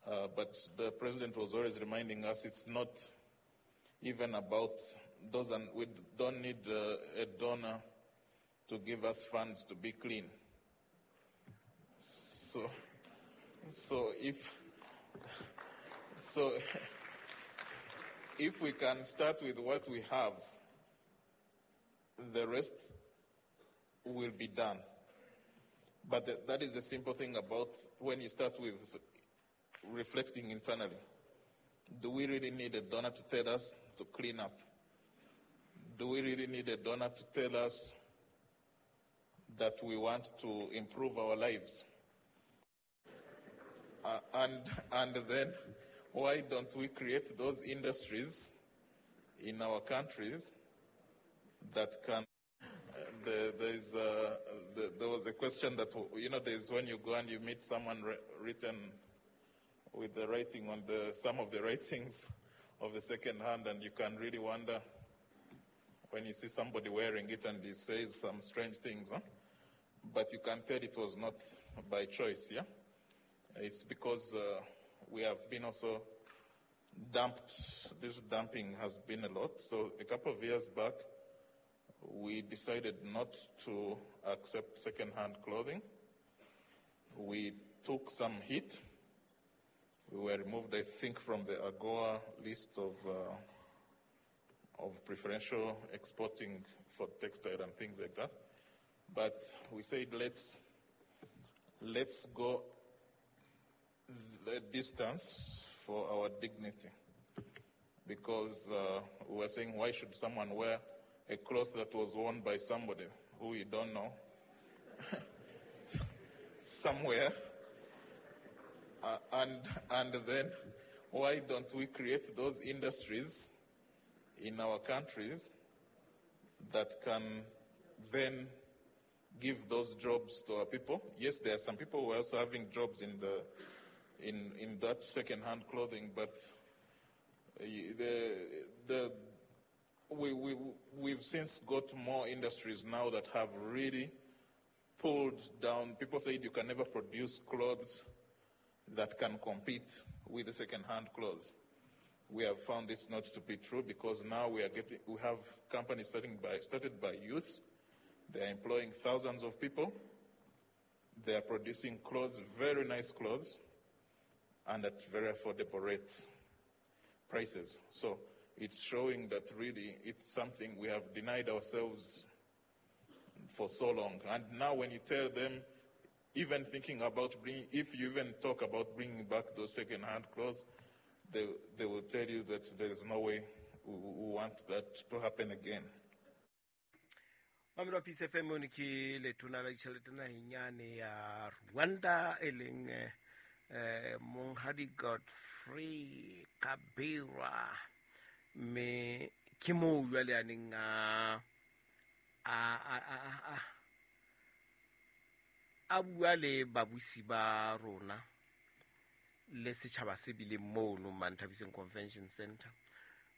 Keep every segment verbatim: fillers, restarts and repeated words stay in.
Uh, but the president was always reminding us it's not even about those, and we don't need uh, a donor to give us funds to be clean. So, so if, so if we can start with what we have, the rest will be done. But th- that is the simple thing about when you start with reflecting internally. Do we really need a donor to tell us to clean up? Do we really need a donor to tell us that we want to improve our lives? Uh, and, and then, why don't we create those industries in our countries that can... Uh, the, there's, uh, the, there was a question that, you know, there's when you go and you meet someone re- written with the writing on the, some of the writings of the second hand, and you can really wonder when you see somebody wearing it and he says some strange things, huh? But you can tell it was not by choice, yeah? It's because, uh, we have been also dumped. This dumping has been a lot. So a couple of years back, we decided not to accept second-hand clothing. We took some heat. We were removed, I think, from the AGOA list of, uh, of preferential exporting for textile and things like that. But we said, let's, let's go the distance for our dignity. Because, uh, we were saying, why should someone wear a cloth that was worn by somebody who you don't know somewhere? Uh, and, and then, why don't we create those industries in our countries that can then give those jobs to our people? Yes, there are some people who are also having jobs in the in, in that second-hand clothing, but the, the we, we we've since got more industries now that have really pulled down. People said you can never produce clothes that can compete with the second-hand clothes. We have found this not to be true, because now we are getting, we have companies starting by, started by youths. They are employing thousands of people. They are producing clothes, very nice clothes, and at very affordable rates, prices. So it's showing that really it's something we have denied ourselves for so long. And now when you tell them, even thinking about bringing, if you even talk about bringing back those second-hand clothes, they, they will tell you that there is no way we, we want that to happen again. Mamelo Peace F M mone ke letona la ditjhelete naheng yane ya Rwanda, e leng, eh, Monghadi Godfrey Kabera. Mme ke moo jwale a neng a, a, a, a, a, a bua le babusi ba rona le setjhaba se bileng mono Manthabiseng Convention Center.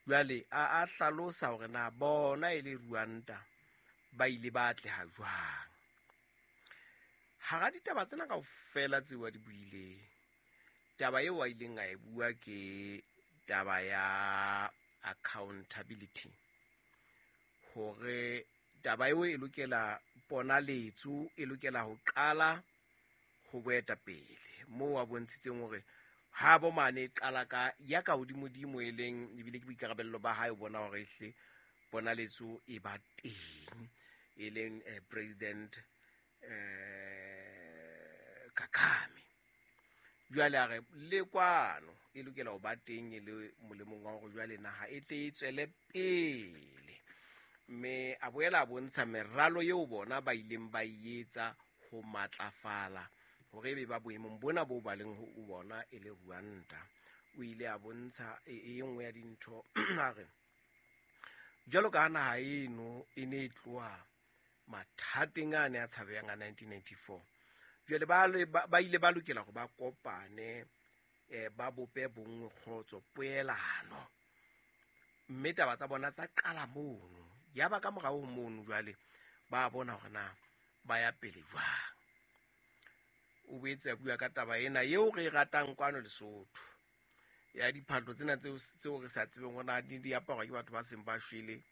Jwale a, a hlalosa hore na bona e le Rwanda ba ile ba atleha jwang. Hara ditaba tsena kaofela tseo a di buileng, taba eo a ileng a e bua ke taba ya accountability, hore taba eo e lokela ponaletso, e lokela ho qala ho boetapele, moo a bontshitseng hore ha bo mane e qala ka ya ka hodimodimo, e leng ebile ke boikarabello ba hae ho bona hore ehle ponaletso e ba teng, e leng, eh, President, eh, Kagame. Jwale a re le kwano e lokela ho ba teng e le molemong wa hore jwale naha e tle e tswele pele. Mme a boela a bontsha meralo eo bona ba ileng ba e etsa ho matlafala hore ebe ba boemong bona bo ba leng ho bona e le Rwanda. O ile a bontsha e, e nngwe ya dintho a re jwalo ka naha eno e ne e tloha mathateng a ne a tshabehang a nineteen ninety-four. Jwale ba le, ba, ba ile ba lokela hore ba kopane, eh, ba bope bonngwe, kgotso, poelano. Mme taba tsa bona tsa qala mono. Ya ba ka morao ho mono jwale ba bona hore na ba ya pele jwang. O boetse a bua ka taba ena eo re e ratang kwano Lesotho ya diphahlo tsena tseo tseo re sa tsebeng hore na di di aparwa ke batho ba seng ba shwele,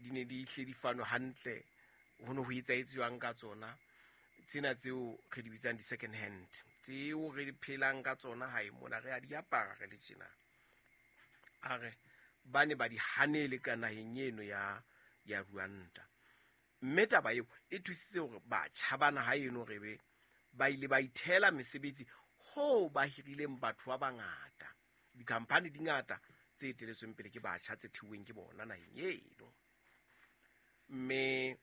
di ne di hle di fanwe hantle, ho ne ho etsahetse jwang ka tsona tsena tseo re di bitsang di-second hand tseo re di phelang ka tsona hae mona re a di apara re le tjena. A re ba ne ba di hanele ka naheng eno ya ya Rwanda, mme taba eo e thusitse hore batjha ba naha eno re be ba ile ba ithela mesebetsi hoo ba hirileng batho ba bangata, dikhamphani di ngata tse eteletsweng pele ke batjha tse theuweng ke bona naheng eno. Mme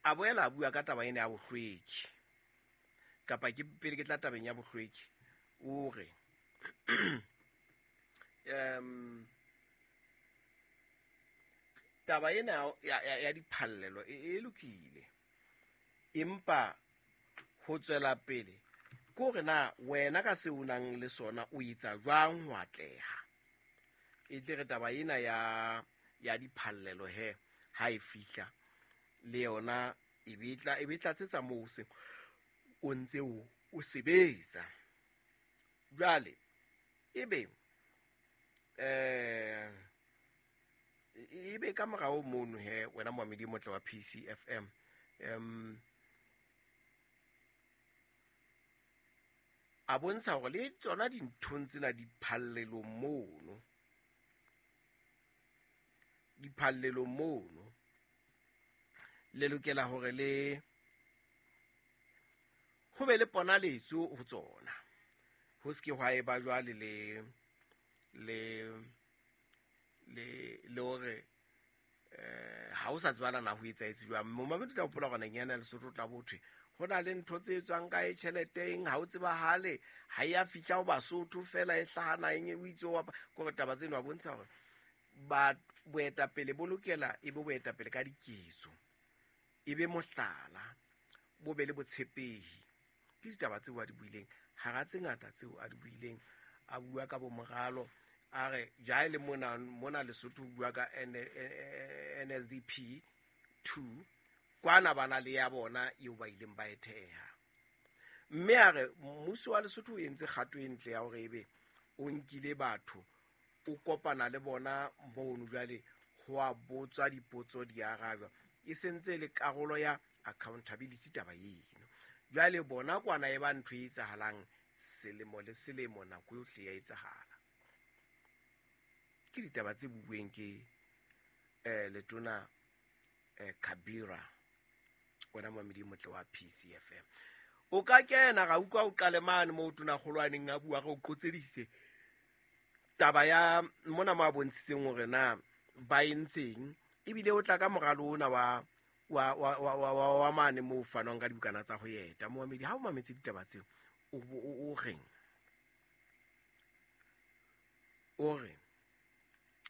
a boela a bua ka taba ena ya bohlweki, kapa ke pele ke tla tabeng ya bohlweki, o re um taba ena ya, ya, ya diphallelo e, e lokile, empa ho tswela pele ke hore na wena ka seo o nang le sona o etsa jwang ho atleha. E tle re taba ena ya ya diphallelo he ha e fihla le yona e be tla e be tlatsetsa moo se o ntse o o sebetsa. Jwale ebe eh ebe ka morao mono he wena moamedi motle wa P C F M, um a bontsha hore le tsona dinthong tsena diphallelong mono, diphallelong mono le lokela hore le ho be le ponaletso ho tsona, ho se ke hwa eba jwale le le le le hore eh ha o sa tsebana na ho etsahetse jwang. Momamedi tla hopola hore naheng ena ya Lesotho tla bothwe ho na le ntho tse etswang kae tjheleteng, ha o tsebahale, ha ya fihla ho Basotho fela e hlaha naheng e o itse wa kore taba tseno a bontsha hore ba boetapele bo lokela e be boetapele ka diketso, e be mohlala, bo be le botshepehi. Ke ditaba tseo a di buileng hara tse ngata tseo a di buileng, a bua ka bo moralo, a re ja le mona mona Lesotho o bua ka N S D P two kwana bana le ya bona eo ba ileng ba e theha. Mme a re mmuso wa Lesotho o entse kgato e ntle ya hore ebe o nkile batho o kopana le bona mono jwale ho a botswa dipotso di arajwa, e sentse le karolo ya accountability taba eno. Jwale bona kwana e ba ntho e etsahalang selemo le selemo, nako yohle ya etsahala. Ke ditaba tse buuweng ke eh letona eh Kabira, wena moamedi motle wa P C F M. O ka kena ra utlwa o qale mane moo tona kgolwaneng a bua re o qotseditse taba ya mona mo a bontshitseng hore na ba entseng, ebile o tla ka moralo ona wa wa wa wa wa wa mane moo fanwang ka dibukana tsa ho eta. Moamedi ha o mametse ditaba tseo o o reng? O re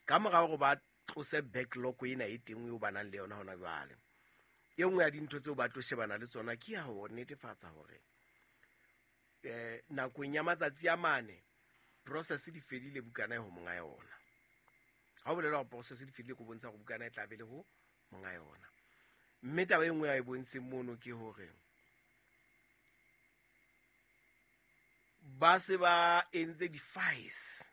ka mora hore ba tlose backlog ena e teng eo ba nang le yona hona jwale, e nngwe ya dintho tseo ba tlo shebana le tsona ke ya ho netefatsa hore eh nakong ya matsatsi a mane process di fedile bukana e ho monga yona. Ha o bolela hore process di fedile ko bontsha hore bukana e tla be le ho monga yona. Mme taba e nngwe ya e bontsheng mono ke hore ba se ba entse di-files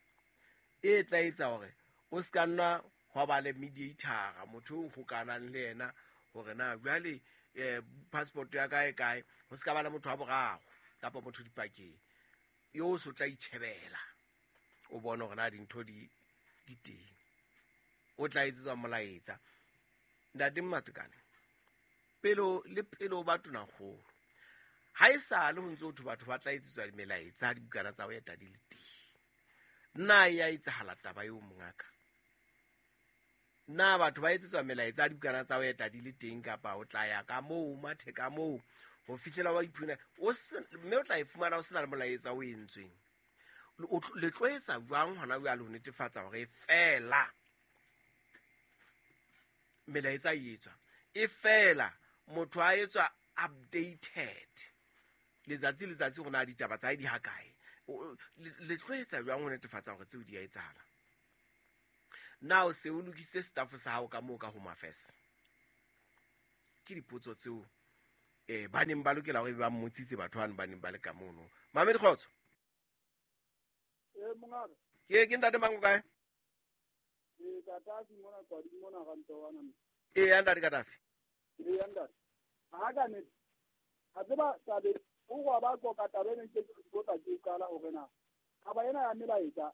e tla etsa hore o se ka nna hwa ba le mediator, motho o hokanang le yena hore na jwale eh passport ya kae kae, ho se ka ba le motho wa boraro kapa motho dipakeng yo o so tla itjhebela o bone hore na dintho di di teng, o tla etsetswa molaetsa. Ntate Matekane, pelo le pelo ba tonakgolo ha e sale ho ntse ho thwe batho ba tla etsetswa melaetsa dibukana tsa ho eta di le teng, na ya etsahala taba eo mongaka? Na batho ba etsetswa melaetsa dibukana tsa ho eta di le teng, kapa o tla ya ka moo mathe ka moo ho fihlela wa iphuna o se mme o tla e fumana o sena le molaetsa o entsweng? Le tlo etsa jwang hona jwale ho netefatsa hore fela melaetsa e etswa e fela motho a etswa updated letsatsi letsatsi hore na ditaba tsa hae di hakae? Le tlo etsa jwang ho netefatsa hore tseo di a etsahala? Na o se o lokisitse staff sa hao ka moo ka Home Affairs? Ke dipotso tseo eh ba neng ba lokela hore ba mmotsitse batho bano ba neng ba le ka mono. Mamedi kgotso. Eh mongaka. Ke ke ntate mang o kae? Eh Katafi mona kwadi mona ga ntowana. Eh ya ntate Katafi. Eh ya ntate. Ha ka ne. A tseba tabe o go ba go ka tabe ne ke go tla ke kala hore na. Taba ena ya melaetsa.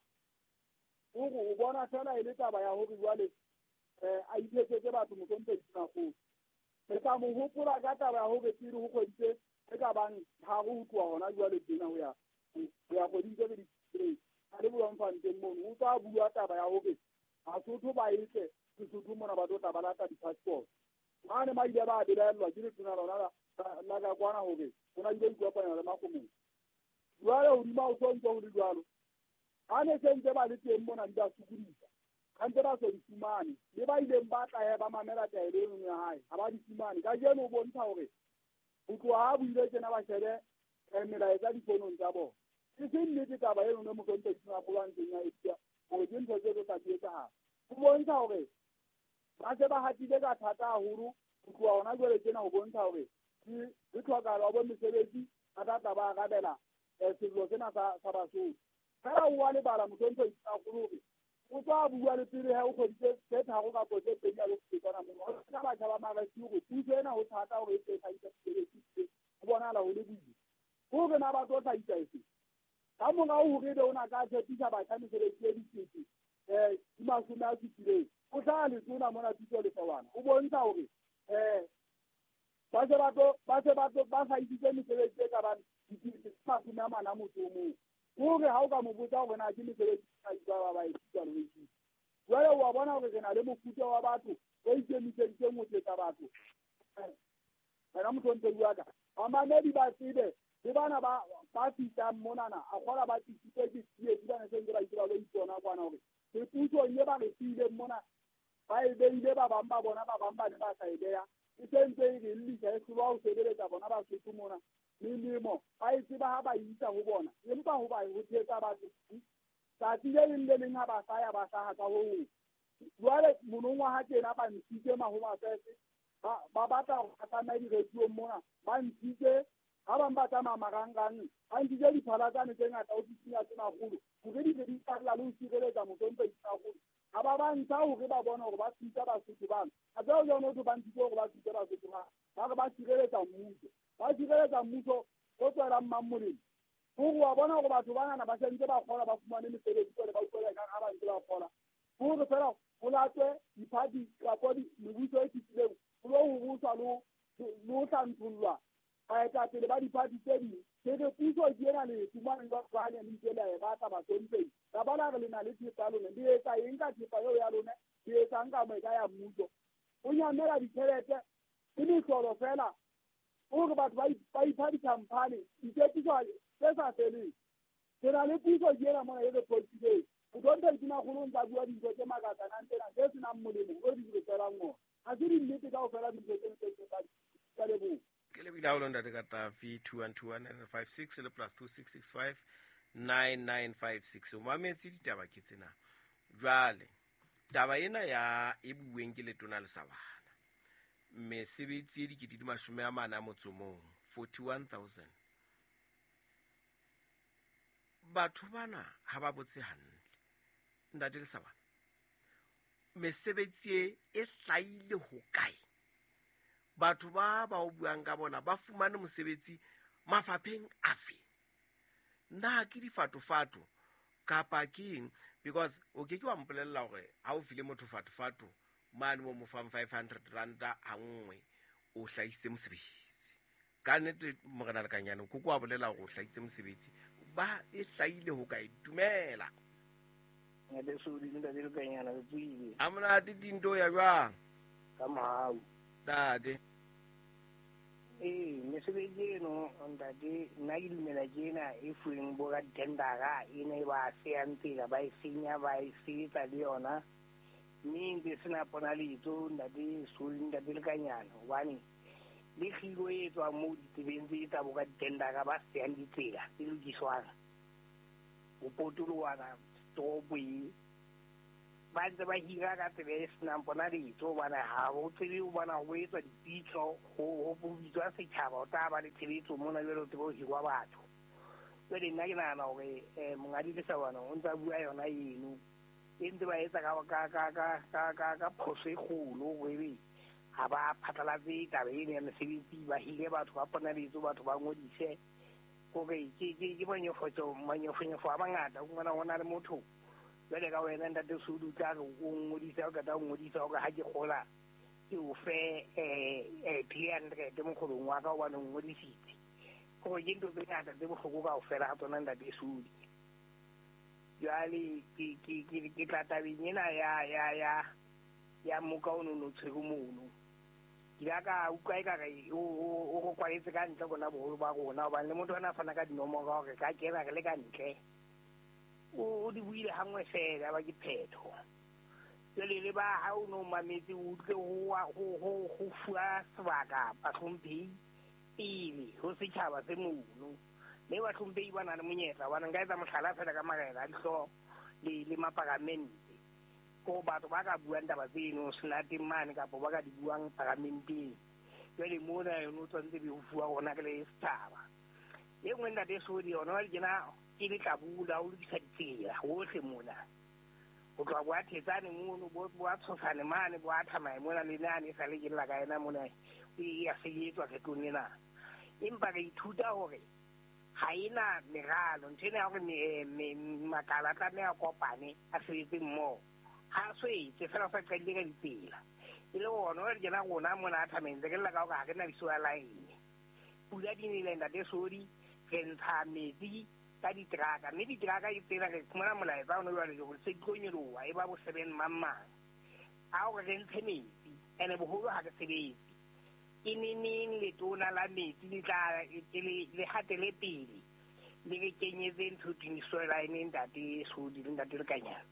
O go o bona fela e le taba ya hore jwale eh a ithetsetse batho mokompedi Tonakgolo. Re tla mo hopola ka taba ya hore pele ho kgwedi tse e ka bang tharo ho tloha hona jwale tjena ho ya ho ya kgweding tse pedi a le Bloemfontein mono o tla bua taba ya hore Basotho ba etle Sesotho mona ba tlo tla ba lata di-passport. Mane ba ile ba belaellwa ke letona lona la la ka kwana hore ho na ile ikopanya le Makgomong. Jwale hodima ho so ntse ho le jwalo. Ha ne se ntse ba le teng mona di ba sokodisa. Ha ntse ba so di fumane le ba ileng ba tla he ba mamela taelo eno ya hae ha ba di fumane. Kajeno o bontsha hore ho tloha ha buile tjena ba shebe melaetsa difonong tsa bona. E se nnete taba eno ne mokompedi Tonakgolo a ntseng a e bua hore ke ntho tse tlo tla di etsahala. Ho bontsha hore ba se ba hatile ka thata haholo ho tloha hona jwale tjena ho bontsha hore ke ke tlhokahalo ya bo mesebetsi ba tla tla ba arabela sello sena sa sa Basotho. Fela o wa lebala mokompedi Tonakgolo hore o tswa bua le pele ha o kgwedi tse tharo kapo tse pedi a lo fetana mono. Ho sena batjha ba marasi hore puso ena ho thata hore e tle e hlahise mesebetsi ho bonahala ho le boima. Hore na ba tlo hlahisa efe? Ka morao hore ebe o na ka tshepisa batjha mesebetsi e dikete eh di mashome a supileng. O hlaha letona mona Thuto Lesawana. O bontsha hore eh ba se ba tlo ba se ba tlo ba hlahisitse mesebetsi e ka bang dikete tse mashome a mane a motso o mong. Hore ha o ka mo botsa hore na ke mesebetsi e ba ba e tswa le ho jwale wa bona hore re na le mofuta wa batho o ikemiseditseng ho tsetsa batho. Wena motlontlodi wa ka, bamamedi ba tsebe le bana ba ba fihlang monana a kgola ba tlisitswe ke tsietsi ba ne se ntse ba itse ba lo ipona kwana hore ke pusong e ba re siileng mona ba e beile ba bang ba bona ba bang ba ne ba sa e beha e se ntse e re llisa e hlolwa ho sebeletsa bona Basotho mona. Melemo ba e tseba ha ba isa ho bona empa ho ba ho thetsa batho tsatsi le leng le leng ha ba sa ya ba hlaha ka ho hong. Jwale monongwaha tjena ba ntshitse mahomafese ba ba batla ho tsamaya diradiong mona ba ntshitse ha bang ba tsamaya marangrang ba ntshitse diphala tsane tse ngata ofising ya Tonakgolo hore di tle di tla le ho sireletsa mokompedi Tonakgolo. Ha ba ba ntsha hore ba bone hore ba thusa Basotho bana. Ha tseo jwang ho ba ntshitse hore ba thuse Basotho bana. Ba re ba sireletsa mmuso. Ba sireletsa mmuso o tswelang mang molemo. Hore wa bona hore batho banana ba sentse ba kgola ba fumane mesebetsi jwale ba utlwela ekare ha ba ntse ba kgola. Hore fela ho latwe diphathi kapo mebuso e fetileng ho lo ho buswa le ho hlanthollwa baetapele ba diphathi tse ding. Ke re puso ke ena le fumane jwalo ka ha le ntse le e batla bahlomphehi. Ka bona re le na le thepa ya lona, le etsa eng ka thepa eo ya lona? Le etsang ka mo e ka ya mmuso? O nyamela ditjhelete ke mehlolo fela hore batho ba ipha di-company ditshepiso tse sa feleng. Ke na le puso ke ena mona e re phoqileng. Mokompedi Tonakgolo o ntsa bua dintho tse makatsanang tsena tse senang molemo o di re tswelang ona. Ha se dinnete kaofela dintho tseno tse tse ka leboha. Ke lebile haholo ntate Katafi. Two one two one nine five six le plus two six six five nine nine five six. O mametse ditaba ke tsena. Jwale taba ena ya e bueng ke letona Lesawana. Mesebetsi e dikete di mashome a mane a motso mong, forty one thousand. Batho bana ha ba botse hantle. Ntate Lesawana, mesebetsi e e hlahile hokae? Batho ba ba o buang ka bona ba fumane mosebetsi mafapheng afe? Na ke difatofato kapa ke eng? Because o ke ke wa mpolella hore ha o file motho fatofato mane mo mo fang five hundred ranta ha nngwe o hlahisitse mosebetsi. Ka nnete morena Lekanyane ko kwa bolela hore o hlahisitse mosebetsi ba e hlahile hokae? Dumela. A monate dinto ya jwang? Ka mohau. Ntate. Ee, mesebetsi eno ntate nna ke dumela ke ena e fuweng bo ka ditendara ena e ba seyang tsela ba e senya ba e sebetsa le yona mme e ntse sena ponaletso ntate Soli ntate Lekanyana hobane le kgiro e tswang moo ditsebeng tse tsa bo ka ditendara ba seyang ditsela tse lokiswang ho potoloha toropo e Ba ntse ba hira ka tsela e senang ponaletso hobane ha o tsebe o bona ho etswa dipitso ho ho bitswa setjhaba o tla ba le tshebetso mona jwale o tsebe ho hirwa batho. Jwale nna ke nahana hore Monghadi Lesabane o ntsa bua yona eno e ntse ba etsa ka ka ka ka ka ka phoso e kgolo hore ebe ha ba phatlalatse taba eno ya mesebetsi, ba hire batho ba ponaletso, batho ba ngodise hore ke ke ke manyofotso manyofonyofo a mangata. O fumana ho na le motho jwale ka wena ntate Sodi o tla re o ngodisa, o qeta ho ngodisa hore ha ke kgola ke o fe three hundred mokgolong wa ka hobane o ngodisitse. Hore ke ntho tse ngata tse bohloko kaofela ha tsona ntate Sodi. Jwale ke ke ke ke tla tabeng ena ya ya ya ya moka ono no tshwere mono. Ke ile ka utlwa ekare o o o kwaletse ka ntle rona boholo ba rona hobane le motho ana a fana ka dinomoro hore ka kena re le ka ntle. O di buile hangwe fela ba ke phetho. Jwale le ba ha o no mametse o utlwe ho ho ho ho fuwa sebaka bahlomphehi pele ho setjhaba se mono. Mme bahlomphehi ba na le monyetla hobane nka etsa mohlala fela ka marena a dihlooho le le maparamente. Ko batho ba ka buang taba tseno senateng mane kapa ba ka di buang paramenteng. Jwale mona yona o tshwanetse be ho fuwa rona re le setjhaba. E nngwe ntate Sodi yona jwale tjena ke lehlabula o lokisa ditsela hohle mona. Ho tloha bo a Thetsane mono, bo bo a Tshosane mane, bo a Thamae mona le nane e sale ke lla ka yena mona e ya sebetswa kgetlong lena. Empa re ithuta hore ha ena meralo, ntho ena ya hore makala a tlameha a kopane a sebetse mmoho. Ha so etse fela o sa qadile ka ditsela. E le ona jwale tjena rona mona a Thamae ntse ke lla ka hore ha re na di-sewer line. Pula di nele ntate Sodi, re ntsha metsi ka diteraka, mme diteraka ke tsena re fumana molaetsa ono jwale hore se di tlo nyoloha e ba bo seven mang mang. A hore re ntshe metsi, ene boholo ha re sebetse. Ke neneng letona la metsi le tla le le hatele pele le re kenyetse ntho thweng di-sewer line ntate Sodi le ntate Lekanyana.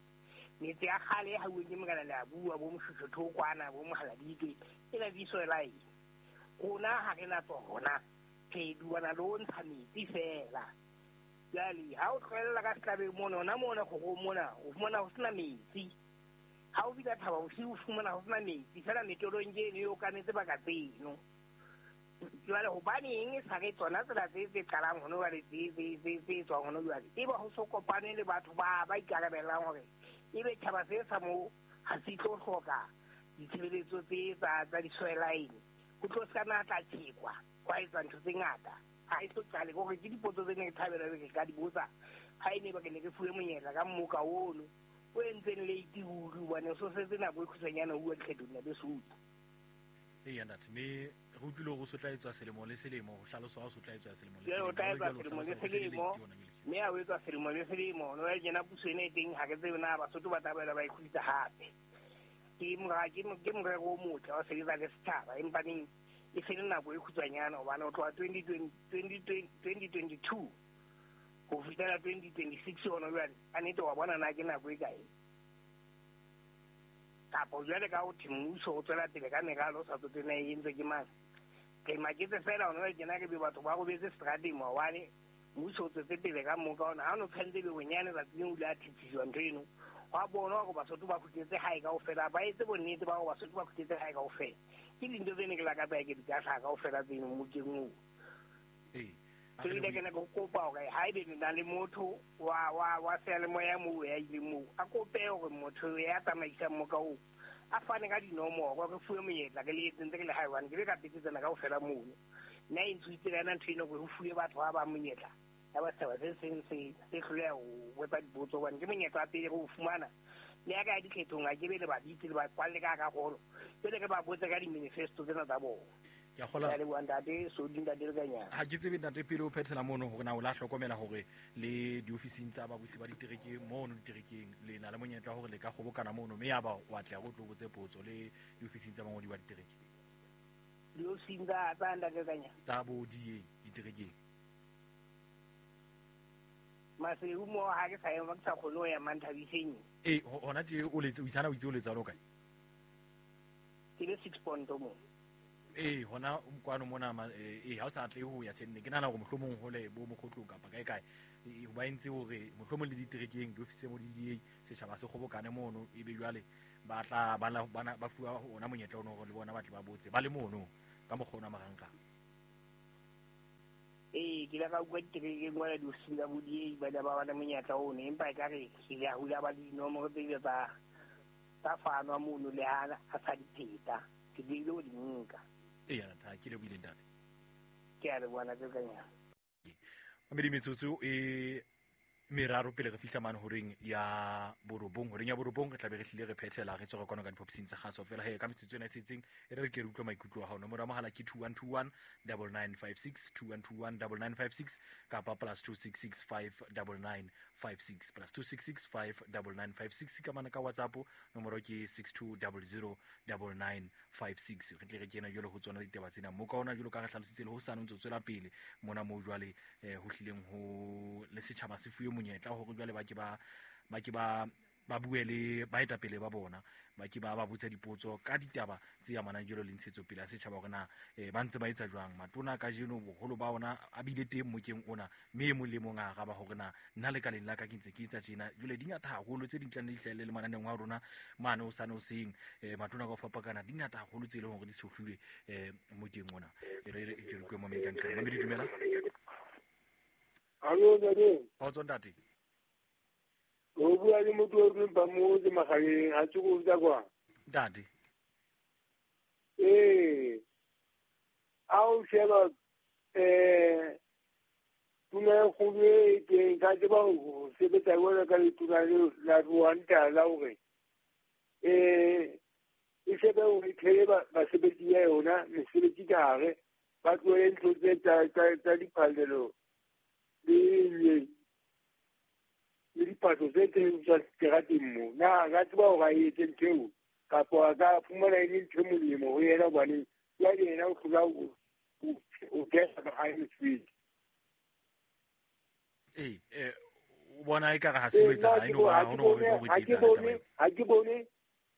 Metsi a kgale ha uwe ke mokana le a bua bo Moshoshotho kwana bo Mohaladitwe e na di-sewer line. Rona ha re na tsona, re duana le ho ntsha metsi fela. Jwale ha o tlohella ka setlabeng mona, hona mona kgorong mona o fumana ho sena metsi. Ha o fihla Thaba Bosiu o fumana ho sena metsi fela metolong ke eno e okametse baka tseno. Jwale hobaneng e sa re tsona tsela tse tse qalang hona jwale tse tse tse tse tswang hona jwale ebe ho so kopane le batho ba ba ikarabellang hore ebe tjhaba se sa moo ha se tlo hloka ditshebeletso tse tsa tsa di-sewer line. Ho tlo se ka na tla tjhekwa hwa etswa ntho tse ngata. Ha e so qale hore ke dipotso tse ne ke thabela ke ka di botsa ha e ne ba ke ne ke fuwe monyetla ka mmoka ono o entseng late ruri hobane so setse nako e khutshwanyane ho bua dikgethong ntate Sodi. Eya ntate, mme re utlwile hore o so tla etswa selemo le selemo, ho hlaloswa ha o so tla etswa selemo le Jwale o selemo. tla Jwale etswa jwale o selemo le hlalosa hore se le selemo, late hona jwale tje. mme ha o etswa selemo le selemo no ya kena puso ena e teng ha ke tsebe na Basotho ba tla boela ba e kgutlisa hape. Ke mora ke ke morero o motle wa sebetsa le setjhaba empa neng e se le nako e khutshwanyane hobane ho tloha twenty twenty twenty twenty two ho fihlela twenty twenty six hona jwale ka nnete wa bona na ke nako e kae. Kapo jwale ka ho thwe mmuso o tswela pele ka meralo o sa tsotelle e entswe ke mang. Re maketse fela hona jwale tjena re be batho ba robetse seterateng maobane, mmuso o tswetse pele ka moka ona. Ha o no tshwanetse ebe bonyane tsatsi leng o ile a thetsiswa ntho eno. Hwa bonwa hore Basotho ba kgutletse hae kaofela, ba etse bonnete ba hore Basotho ba kgutletse hae kaofela. Ke dintho tse ne ke lakatsa ke di ka hlaha kaofela tseno mmokeng oo. Ee, a Ke re ile lebohe. ke ne ke kopa hore haebe le na le motho wa wa wa seyalemoya moo ya ileng moo, a kope hore motho ya tsamaisang moka oo a fane ka dinomoro re fuwe monyetla re le etse ntse re le hae hobane ke be ka petetsana kaofela mono. Nna e ntshwitse ka yona ntho eno hore ho fuwe batho ba bang monyetla ya ba setjhaba se seng se se hloleha ho botsa dipotso hobane ke monyetla wa pele re o fumana. Le ya ka ya dikgethong ha ke be le ba bitse le ba kwalle ka hara holo, jwale re ba botse ka di-manifesto tsena tsa bona. Ke a kgolwa. Ke a leboha ntate Sodi, ntate Lekanyana. Ha ke tsebe ntate pele o phethela mono hore na o la hlokomela hore le diofising tsa babusi ba ditereke mono diterekeng le na le monyetla hore le ka kgobokana mono mme ya ba wa tla o tlo botse potso le diofising tsa bangodi ba ditereke. Diofising tsa tsa ntate Lekanyana? Tsa bo D A diterekeng. Maseru mo ha ke sa ema ke sa kgone ho ya Manthabiseng. Eh, ho-, hona tje o letse, o itsana o itse o letsa lo kae? Ke le six point mo. Ee, hona kwano mona ee ha o sa atlehe ho ya tjhe, ke nahana hore mohlomong hole bo mokgotlong kapa kae kae ba entse hore mohlomong le diterekeng diofising mo di D A setjhaba se kgobokane mono, ebe jwale ba tla ba ba fuwa ona monyetla ono hore le bona ba tle ba botse ba le mono ka mokgwa ona marangrang. Ee, ke ile ka utlwa diterekeng kwana diofising tsa bo D A ba ne ba ba le monyetla ono, empa ekare ke ile hula ba dinomoro tse ile tsa tsa fanwa mono le ha a sa di pheta, ke diile ho di nka. Ee, ntate, ke lebohile ntate. Ke a leboha ntate Kanyana. Mamedi metsotso e meraro pele re fihla mane horeng ya borobong, horeng ya borobong re tla be re hlile re phethela re tswa kwano ka diphopsing tsa kgaso fela. He ka metsotso ena e setseng e re ke re utlwe maikutlo a hao. Nomoro ya mohala ke two one two one double nine five six, two one two one double nine five six kapa plus two six six five double nine five six, plus two six six five double nine five six ka mane ka WhatsApp nomoro ke six two double zero double nine five six. Re tle re kena jwale ho tsona ditaba tsena mo ka ona jwalo ka re hlalositse le ho sane o ntso tswela pele mona mo jwale ho hlileng ho le setjhaba se fuwe monyetla hore jwale ba ke ba ba ke ba ba bue le baetapele ba bona, ba ke ba ba botsa dipotso ka ditaba tse amanang jwalo le ntshetsopele ya setjhaba hore na ba ntse ba etsa jwang. Matona kajeno boholo ba ona a bile teng mokeng ona, mme e mong le mong a araba hore na nna lekaleng la ka ke ntse ke etsa tjena. Jwale di ngata haholo tse ding tla nne di hlahelle le mananeong a rona mane o sane o seng matona ka ho fapakana, di ngata haholo tse leng hore di sohlilwe mokeng ona. E re ke re kwe mamedi ka nqane. Mamedi dumela. Alo ntate. Kgotso ntate. O bua le motho o reng ba mo ke magaleng ha tse go tsa kwa. Ntate. Ee. A o sheba eh tuna go le ke ka tseba ho sebetsa jwalo ka letona leo la Rwanda la hore eh e shebe ho ithele ba basebetsi ya yona mesebetsi ka hare ba tlohele ntho tse tsa tsa diphallelo le le diphatho tse teng tsa seterateng mo. Na a ka tseba hore a etse ntho eo kapa a ka fumana e le ntho e molemo ho yena, hobane jwale yena o hlola o kena ka hae mosebetsi. Ee, o bona ekare ha se ho etsahala, eno ba ha ono hore Ha ke bone, ha ke bone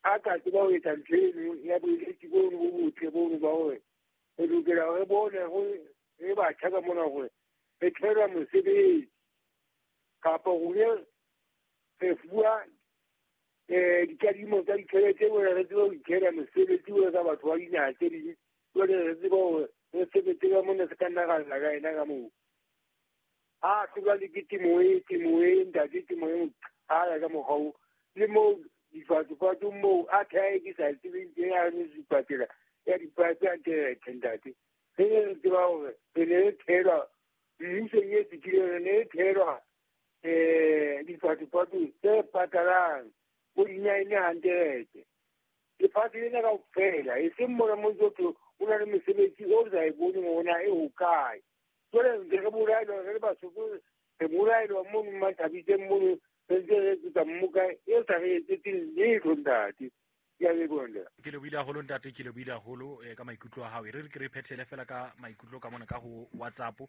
a ka tseba ho etsa ntho eno ya boeletsi bono bo botle bono ba hore re lokela re bone re batjha ka mona hore re tshwara mosebetsi kapa rona re fuwa eh dikadimo tsa ditjhelete hore re tsebe ho ithera mosebetsi o ka batho ba dinaha tse ding, jwale re tsebe hore re sebetse ka mona se ka nna ra lla ka ena ka moo. Ha hlola le ke temo e temo e ntate temo e qala ka mokgwa oo le moo difatsofatso moo a theha ke sa tsebeng teng a re dipatela ya dipatse a nte ntate. Re ne re tseba hore re ne re thelwa mmusong e fetileng, re ne re thelwa eh difatsofatso tse patalang bo di-nine hundred. Lefatshe lena kaofela e seng mona mo ntso o na le mesebetsi o sa e boneng hore na e hokae. Jwale ntse re bolaelwa re le Basotho, re bolaelwa mono Mathabiseng mono re ntse re etsetsa mmoka e sa re etsetseng letho ntate. Ke a leboha ntate. Ke lebohile haholo ntate, ke lebohile haholo ka maikutlo a hao. E re re ke re phethele fela ka maikutlo ka mona ka ho WhatsApp.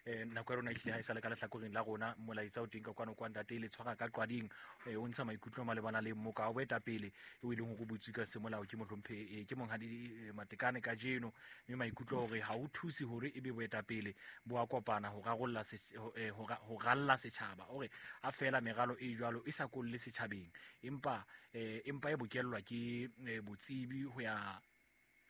Eh nako ya rona e hlile ha e sale ka lehlakoreng la rona, molaetsa o teng ka kwano kwa ntate le tshwara ka qwading o ntsha maikutlo malebana le mmoka wa boetapele o e leng hore o butswe ka semolao ke mohlomphe ke monghadi Matekane kajeno, mme maikutlo hore ha o thuse hore ebe boetapele bo a kopana ho rarolla ho ralla setjhaba, hore ha fela meralo e jwalo e sa kolle setjhabeng empa empa e bokellwa ke botsebi ho ya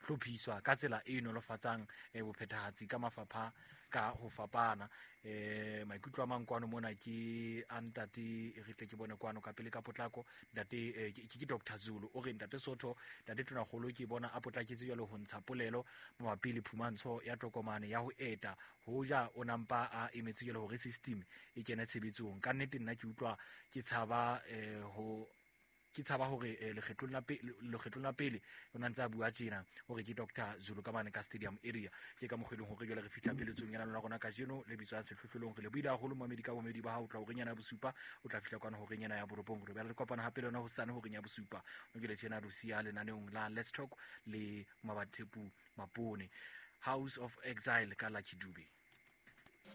hlophiswa ka tsela e nolofatsang bophethahatsi ka mafapha ka ho fapana. Eh maikutlo a mang kwano mona ke a ntate re tle ke bone kwano ka pele ka potlako ntate ke ke Doctor Zulu o re ntate Sotho ntate Tonakgolo ke bona a potlaketse jwalo ho ntsha polelo mabapi le phumantsho ya tokomane ya ho eta hoja o nampa a emetse jwalo hore system e kene tshebetsong. Ka nnete nna ke utlwa ke tshaba eh ho ke tshaba hore lekgetlong la pele lekgetlong la pele o ntse a bua tjena hore ke Doctor Zulu ka mane ka stadium area. Ke ka mokgweleng hore jwale re fihla peletsong yana lona rona kajeno le bitswang sehlohlolong. Re le buile haholo mamedi ka bomedi ba hao, o tla horeng yana ya bosupa o tla fihla kwana horeng yana ya borobong. Re bela re kopana hape le yona hosane horeng ya bosupa. O ke le tjena Lucia lenaneong la Let's Talk le Mabathepu Mapone, House of Exile ka Lucky Dube.